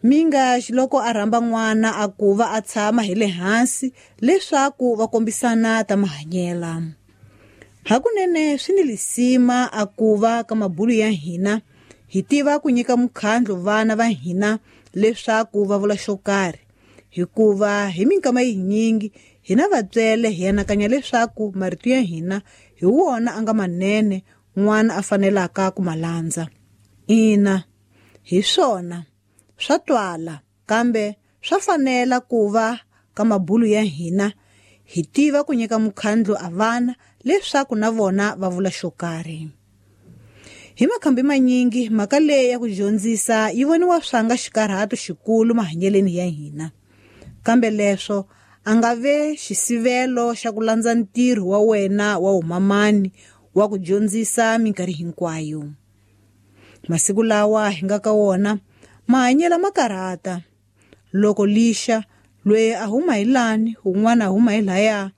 Minga xiloko a rhamba n'wana a ku va a tshama hi le hansi leswaku va kombisana ta mahanyela. Hakunene swi ni lisima a ku va ka mabulu ya hina hi tiva ku nyika mukhandlu vana va hina leswaku va vula xo karhi, hikuva hi minkama yinyingi hina vatswele hi anakanya leswaku marito ya hina hi wona a nga manene n'wana a fanelaka ku ma landza. Ina, hi swona swa twala, kambe swa fanela ku va ka mabulu ya hina hi tiva ku nyika mukhandlu a vana leswaku na vona va vula xo karhi. Hi makhambi manyingi mhaka leyi ya ku dyondzisa yi voniwa swanga xikarhato xikulu mahanyeleni ya hina, kambe leswo a nga ve xisivelo xa ku landza ntirho wa wena wa umamani wa ku dyondzisa minkarhi hinkwayo. Masiku lawa hi nga ka wona mahanyelo ma karhata. Loko lixa loyi a huma hi lani un'wana a huma hi laya,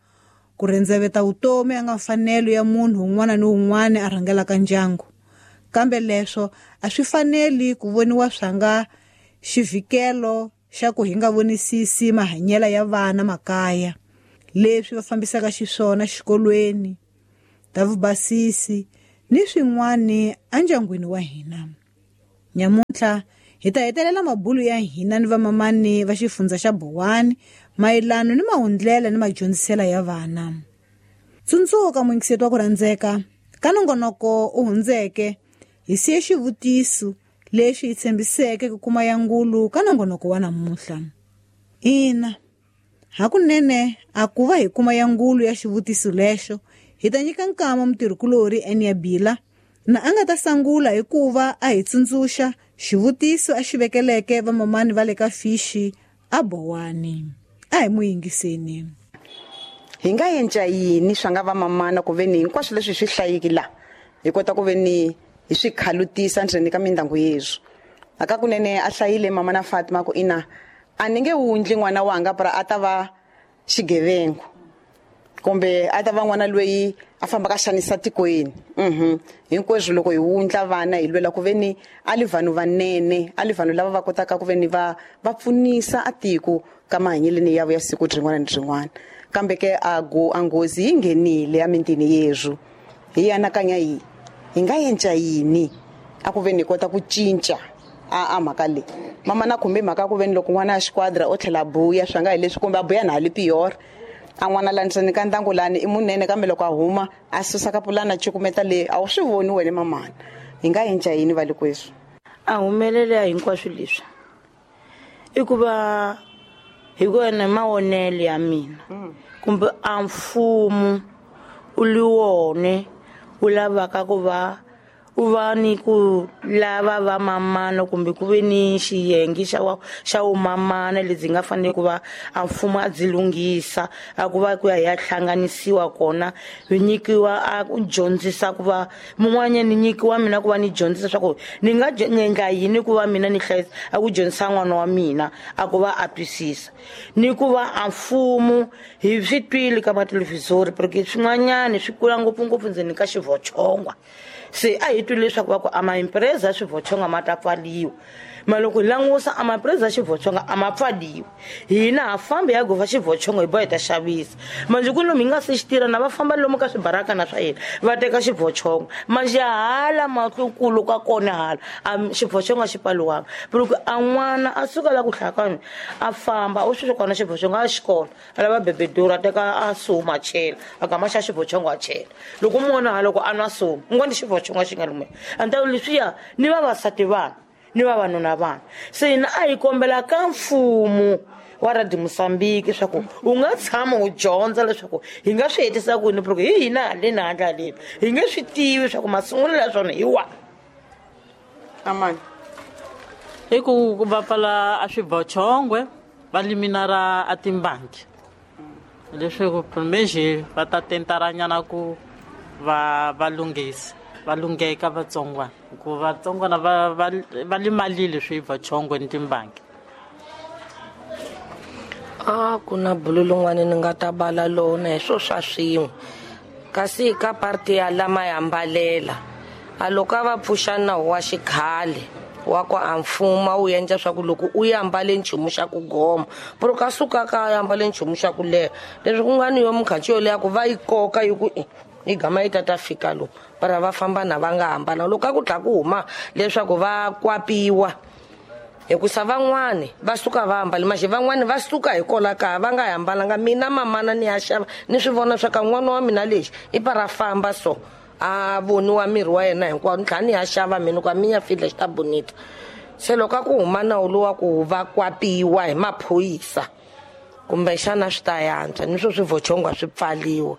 ku rendzeveta vutomi a nga mfanelo ya munhu un'wana ni un'wana a rhangelaka ndyangu, kambe leswo a swi faneli ku voniwa swanga xivhikelo xa ku hi nga vonisisi mahanyelo ya vana makaya, leswi va fambisaka xiswona xikolweni, ta vubasisi ni swin'wana endyangwini wa hina. Nyamuntlha hi ta hetelela mabulu ya hina ni vamamani va xifundza xa Bowani mayelano ni mahundlela ni madyondzisela ya vana. Tsundzuka muyingiseti wa ku rhandzeka, ka nongonoko u hundzeke hi siye xivutiso lexi hi tshembiseke ku kuma ya ngulu ka nongonoko wa namuntlha. Ina, hakunene a ku va hi kuma ya ngulu ya xivutiso lexo, hi ta nyika nkama mutirhikulorhi Enia Bila na a nga ta sangula hikuva a hi tsundzuxa xivutiso a xi vekeleke vamamani va le ka Fishi a Bowani. A hi mu yingiseni. Hi nga endla yini swa nga vamamana ku ve ni hinkwaswo leswi hi swi hlayiki la hi kota ku ve ni hi swi khalutisa ndzeni ka mindyangu yeswo. Hakakunene a hlayile mama na Fatima ku ina a ni nge wundli n'wana wanga pra a ta va xigevengo kumbe a ta va n'wana loyi a fambaka a xanisa tikweni. Hinkweswo loko hi wundla vana hi lwela ku ve ni a li vanhu vanene, a li vanhu lava va kotaka ku ve ni va va pfunisa a tiko ka mahanyeleni ya ya siku rin'wana ni rin'wana. Kambe ke a go a nghozi yi nghenile emitini yeswo. Hi anakanya yi hi nga endla yini a ku ve ni kota ku cinca a mhaka leyi. Mama na khumbe mhaka ku ve ni loko n'wana a xiquadra o tlhela a buya swa nga hi leswi kumbe a buya na hali pior. A n'wana la ndzeni ka ndyangu lani i munene kambe loko a huma a susa ka pulana cukumeta leyi a wu swi voni wena mamana. Hi nga endla yini va le kweswi? A humelela hinkwaswo leswi i ku va hi ku ene mavonelo ya mina kumbe a mfumo u li wone wu lavaka ku va u va ni ku lava va mamana kumbe ku ve ni xiyenge xa wa xa vumamana lebyi nga fanele ku va a mfumo a byi lunghisa, a ku va ku ya hi ya hlanganisiwa kona, hi nyikiwa a ku dyondzisa ku va mun'wanyana ni nyikiwa mina ku va ni dyondzisa swa ku ni nga ni endla yini ku va mina ni hlayisa, a ku dyondzisa n'wana wa mina a ku va a twisisa. Ni ku va a mfumo hi swi twile ka mathelevhizori porque swin'wanyana swi kula ngopfungopfu ndzeni ka xivochongwa. Se a hi twile leswaku va ku a maimpreza ya swivochonga ma ta pfaliwa, ma loko hi langusa a maimpreza ya xivochonga a ma pfaliwi, hina ha fambi ya gova xivochongo hi boha hi ta xavisa. Manjhe ku lomu hi nga se xi tirha na va famba lomu ka swibarakana swa hina va teka xivochongo, manjhe hala mahlukulu ka kona hala a xivochongo a xi pfaliwanga. Loko a n'wana a suka la ku hlaya a famba u swi kona xivochongo a xikolo a lava bebedura a teka a suma a chela a gama xa xivochongo a chela. Loko u mona loko a nwa suma u ngo ni xivochongo xi nga lume. A ni ta leswiya ni vavasati vana ni vavanuna vana. Se hina a hi kombela ka mfumo wa Radio Mozambique leswaku u nga tshama u dyondza leswaku hi nga swi hetisa ku yini, porque hi hina haleni handle haleni hi nge swi tivi leswaku masungulo ya swona hi wahi. Amani. I ku va pfala a swivochongwe va liminara a timbangi leswaku mexe va ta tentaranyana ku va va lunghisa va lungheka vatsongwana, hikuva vatsongwana va va va limalile swivochongwe ni timbangi. A ku na bulu lin'wana ni nga ta bala lona hi swo swa swin'we, kasi ka parti ya lama ya mbalela a loko a va pfuxa nawu wa xikhale Wa ku a mfumo wu endla swa ku loko u ya ambale nchumu xa ku goma puro ka suka ka ya ambale nchumu xa ku leha leswi ku nga ni yo mukhanci yo leha ku va yi koka yi ku yi gama yi tata fika lomu para va famba na va nga hambana loko a ku tlha ku huma leswaku va kwapiwa hikusa van'wani va suka va ambale maxi van'wani va suka hi kola kaya va nga hambalanga mina mamana ni ya xava ni swi vona swa ka n'wana wa mina lexi i para famba so a voniwa miri wa yena hinkwawo ni tlhela ni ya xava mina ku a mi ya fidla xi ta bonita se loko a ku huma nawu lowa ku va kwapiwa hi maphorisa kumbexana swi ta yantswa ni swo swivochongo swi pfaliwa.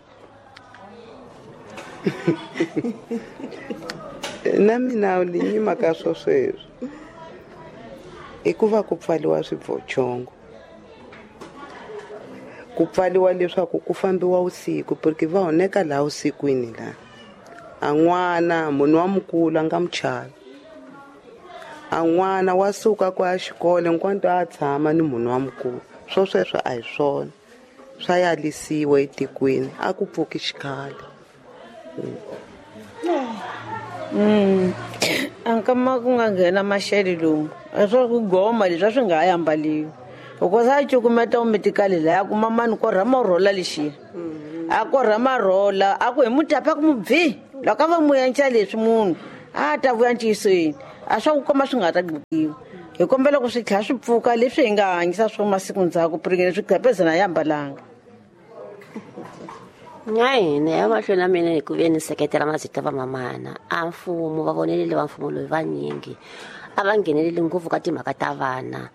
Na mina ni nyima ka swo sweswo i ku va ku pfaliwa swivochongo ku pfaliwa leswaku ku fambiwa usiku porque va honeka laha usikwini laha a n'wana munhu wa mukulu a nga muchavi a n'wana wa suka ku ya xikolo hinkwanto a tshama ni munhu wa mukulu swo sweswo a hi swona swa yalisiwa etikweni a ku pfuki xikhale. Ankama ku nga nghena maxele lomu a swa ku goma leswi a swi nga ha ambaliwi hikuva a cukumeta umitikali laha a kuma mani korha marhola lexiya a korha marhola a ku hi mutapa ku mubvi loko a va mu yanca leswi munhu a ta vuya ntiyisweni a swa ku koma swi nga ta gqikiwa hi kombela ku swi tlhela swi pfuka leswi hi nga hanyisa swo masiku ndzhaku piringene swi gapezana ya ambalanga. Na hina ya mahlweni ya mina hi ku ve ni seketela mazita va mamana a mfumo va vonelele va mfumo loyi vanyingi a va ngheneleli ngopfu ka timhaka ta vana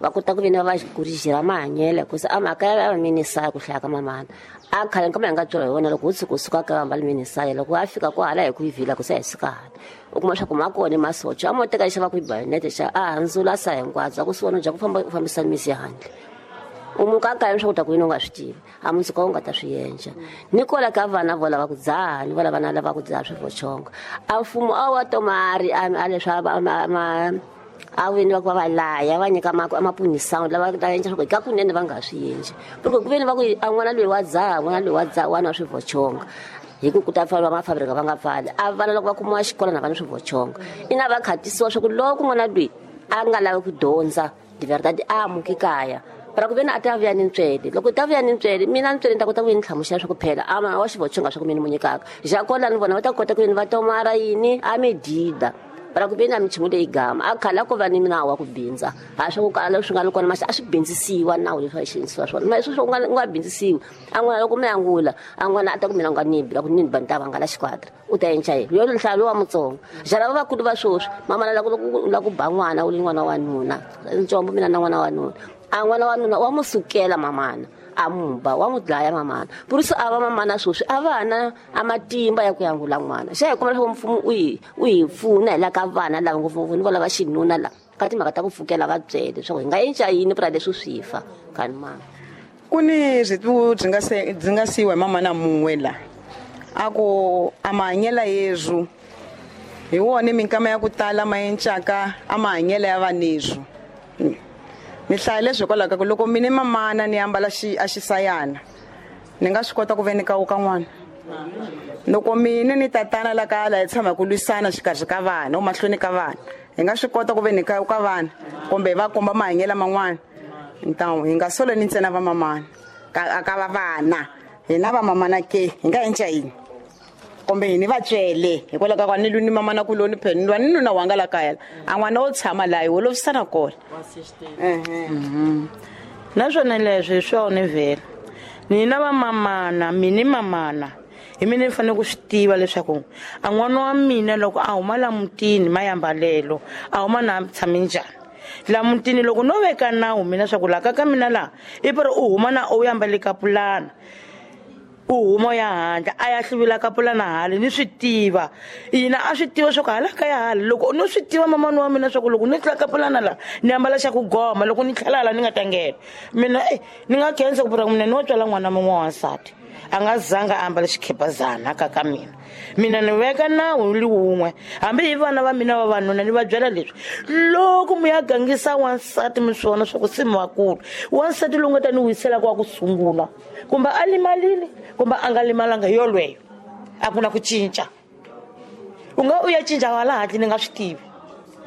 va kota ku ve ni va kurijira mahanyelo hikusa a mhaka ya va minisaya ku hlaya ka mamana a khale nkama hi nga byela hi wona loko wo tshuka u suka ka va mbali minisaya loko a fika ko hala hi ku yi vhila ku se hi suka hala u kuma swa ku ma kona masocha a mo teka xava ku yi bayonete xa a handzula sa hinkwabyo a ku swi vona bya ku famba u fambisa misi handle u muka kaya leswaku ta ku yini u nga swi tivi a mundzuku u nga ta swi endla ni kola ka vana vo lava ku dzaha ni vo lava na lava ku dzaha swivochongo a mfumo a wa tomari a leswi a veni va ku va va laya va nyika mapunisano lava ta endla swa ku ka kunene va nga swi endli loko ku veni va ku a n'wana loyi wa dzaha n'wana loyi wa dzaha wana wa swivochonga hi ku ku ta pfariwa mafabrika va nga pfali a vana loko va kumiwa xikolo na vana swivochonga ina va khatisiwa swa ku loko n'wana loyi a nga lavi ku dyondza de verdade a amuki kaya para ku veni a ta vuya ni ntswele loko ta vuya ni ntswele mina ntswele ni ta kota ku ni hlamusela swa ku phela a wa xivochonga swa ku mina ni mu nyikaka jakola ni vona va ta kota ku ni va tomara yini a mi dida para ku veni a minchumu leyi gama a khale a ko va ni nawu wa ku bindza ha swa ku kala leswi nga ri kona masi a swi bindzisiwa nawu leswi a xinisiwa swona ma leswi swo u nga bindzisiwi a n'wana loko mi angula a n'wana a ta ku mina u nga ni bi la ku ni ba ni ta vangala xikwatra u ta endla yini yo nhlayo wa mutsongo jala va vakulu va sweswi mama la ku la ku ba n'wana u li n'wana wa nuna ntsombo mina na n'wana wa nuna a n'wana wa nuna wa mu sukela mamana a mu ba wa mu dlaya mamana burusi a va mamana sweswi a va na a matimba ya ku yangula n'wana xa hi kuma leswaku mfumo u hi pfuna hi la ka vana lava ngopfungopfu ni vo lava xinuna la ka timhaka ta ku pfukela va byele leswaku hi nga endla yini pura leswi swi fa kani mama ku ni byi byi nga siyiwa hi mamana mun'we la a ku a mahanyela yezwu hi wona minkama ya ku tala ma encaka a mahanyela ya vanezwu ni hlaya leswi hikwalaho ka ku loko mina mamana ni ambala a xisayana ni nga swi kota ku ve ni kawuka n'wana loko mina ni tatana la kaya la hi tshama hi ku lwisana xikarhi ka vana o mahlweni ka vana hi nga swi kota ku ve ni kawuka vana kumbe hi va komba mahanyelo man'wana ntawu hi nga solo ni ntsena va mamana ka ka va vana hina va mamana ke hi nga endla yini kumbe hi ni va tswele hikwalaho ka ku a ni lwi ni mamana kuloni phela ni lwa ni nuna wanga la kaya a n'wana wo tshama laha hi holovisana kona. Naswona leswi hi swona vhela nina va mamana mini mamana hi mina ni fanele ku swi tiva leswaku a n'wana wa mina loko a huma la mutini mayambalelo a huma na tshame njhani la mutini loko no veka nawu mina swa ku laha ka mina laha i pari u huma na u yambale kapulana u huma ya handle a ya hluvula kapulana hale ni swi tiva yina a swi tiva swa ku hala ka ya hale loko no swi tiva mamani wa mina swa ku loko ni tlula kapulana laha ni ambala xa ku goma loko ni tlhela hala ni nga ta nghena mina ni nga khensa ku pura mina ni wo tswala n'wana mun'we wa wansati a nga zanga a ambala xikhepazana ka ka mina mina ni veka nawu li wun'we hambi hi vana va mina vavanuna ni va byela leswi loko mi ya gangisa wansati mi swi vona swa ku se mi vakulu wansati lowu nga ta ni wiselaka wa ku sungula kumbe a limalile kumbe a nga limalanga hi yolweyo a ku na ku cinca u nga u ya cinca wala handle ni nga swi tivi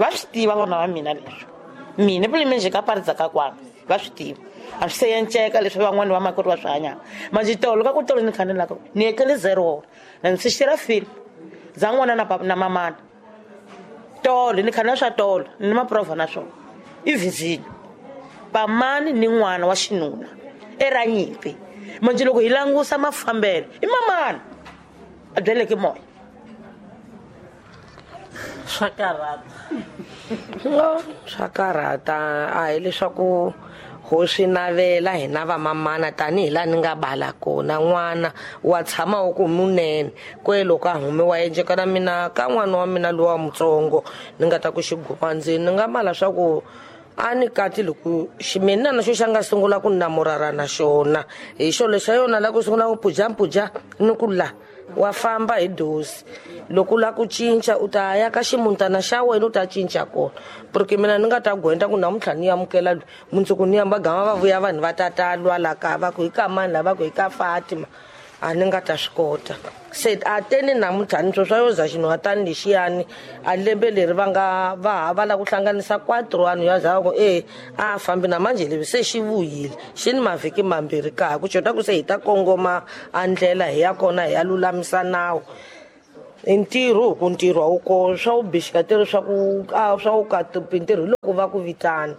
Va swi tiva vona va mina leswi. Mina pulime ka paridza ka kwana va swi tiva. A swi se enceka leswi van'wani va makoti va swi hanyaka. Manjhe tolo ka ku tolo ni khanelaka ni etlele 0 na ni swi film za n'wana na mamana. Tolo ni khanela swa tolo ni maprova na swona. I vizini. Pamani ni n'wana wa xinuna era nyimpi. Manjhe loko hi langusa mafambelo i mamana a byeleke moya. Swa karhata. Swa karhata a hi leswaku ho swi navela hina vamamana tanihi laha ni nga bala kona n'wana wa tshama wu ku munene kwelo ka humiwa enceka na mina ka n'wana wa mina lowa mutsongo ni nga ta ku xiguva ndzeni ni nga mala swa ku a ni kati loko mina na xo xa nga sungula ku namurara na xona hi xo lexa yona la ku sungula ku pujapuja ni ku la wa famba hi dosi loko la ku cinca u ta ya ka ximuntana xa wena u ta cinca kona porque mina ni nga ta gwenda ku namuntlha ni amukela loyi mundzuku ni yamba gama va vuya vanhu va tata lwa la ka va ku hi ka mani la va ku hi ka Fatima a ni nga ta swi kota se a teni namuntlha ni swo swa yo za xinhwatani lexiyani a lembe leri va nga va ha va la ku hlanganisa 4 vanhu ya za ku e a fambi na manje leswi se xi vuyile xi ni mavhiki mambirhi ka ku xota ku se hi ta kongoma a ndlela hi ya kona hi ya lulamisa nawu i ntirho ku ntirho a wu ko swa wu bixika tirho swa ku swa wu ka ntirho loko va ku vitana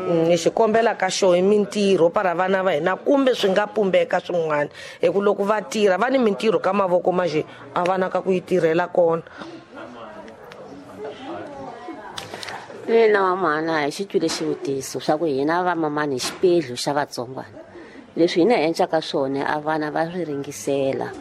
ni xikombela ka xo hi mintirho para vana va hina kumbe swi nga pumbeka swin'wana hi ku loko va tirha va ni mintirho ka mavoko manjhe a va na ka ku yi tirhela kona. Mina mamana hi xi twile xivutiso swa ku hina vamamani hi xipedlu xa vatsongwana leswi hina hi encaka swona a vana va swi ringisela.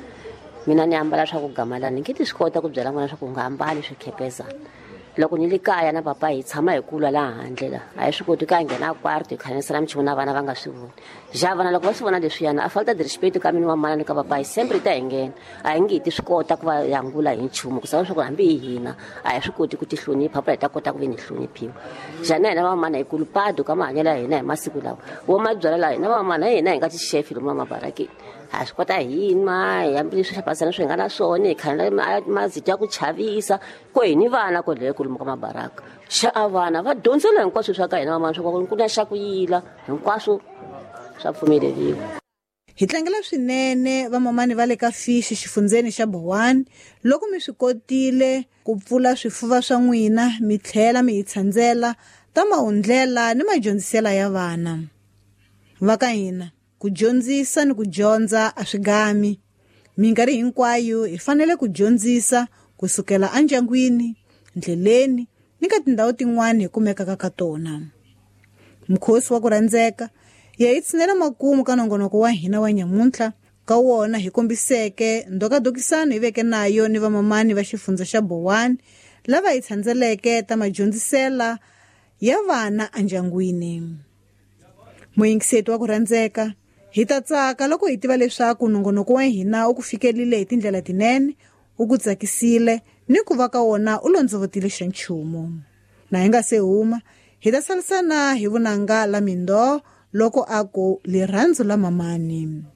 Mina ni ambala swa ku gamalana ni nge ti swi kota ku byela n'wana swa ku nga ambali swikhepezana. Loko ni le kaya na papa hi tshama hi kulwa laha handle la a hi swi koti ku ya nghena kwarto hi khanyisela minchumu na vana va nga swi voni. Ja vana loko va swi vona leswiyana a falta de respect ka mina wa mana ni ka papa hi sempre ta hi nghena a hi nge hi ti swi kota ku va yangula hi nchumu ku sava swa ku hambi hi hina a hi swi koti ku ti hlonipha pa hi ta kota ku ve ni hloniphiwa. Ja na hina vamamana hi kulupado ka mahanyelo ya hina hi masiku lawa wo mabyala laha hina vamamana hi hina hi nga tixefi lomu mabarakeni a swi kota hi nwa hi hambileswi hlapasana swi nga na swona hi khanela mazito ya ku chavisa ko hi ni vana ko leyo kulumu ka mabaraka xa a vana va dyondzela hinkwaswo swa ka hina vamana swa ku na xa ku yila hinkwaswo swa pfumeleriwa. Hi tlangela swinene vamamani va le ka Fishi xifundzeni xa Bowani loko mi swi kotile ku pfula swifuva swa n'wina mi tlhela mi hi tshandzela ta mahundlela ni madyondzisela ya vana. Va ka hina ku dyondzisa ni ku dyondza a swi gami. Minkarhi hinkwayo hi fanele ku dyondzisa kusukela endyangwini, ndleleni ni ka tindhawu tin'wana hi kumekaka ka tona. Mukhosi wa ku rhandzeka ya hi tshinela makumu ka nongonoko wa hina wa nyamuntlha ka wona hi kombiseke ndokadokisano hi veke nayo ni vamamani va xifundza xa Bowani lava hi tshandzeleke ta madyondzisela ya vana endyangwini. Muyingiseti wa ku rhandzeka hi ta tsaka loko hi tiva leswaku nongonoko wa hina u ku fikelile hi tindlela tinene, u ku tsakisile ni ku va ka wona u londzovotile xa nchumu. Na hi nga se huma hi ta salisana hi vunanga la Mindoo loko a ku rirhandzu la mamani.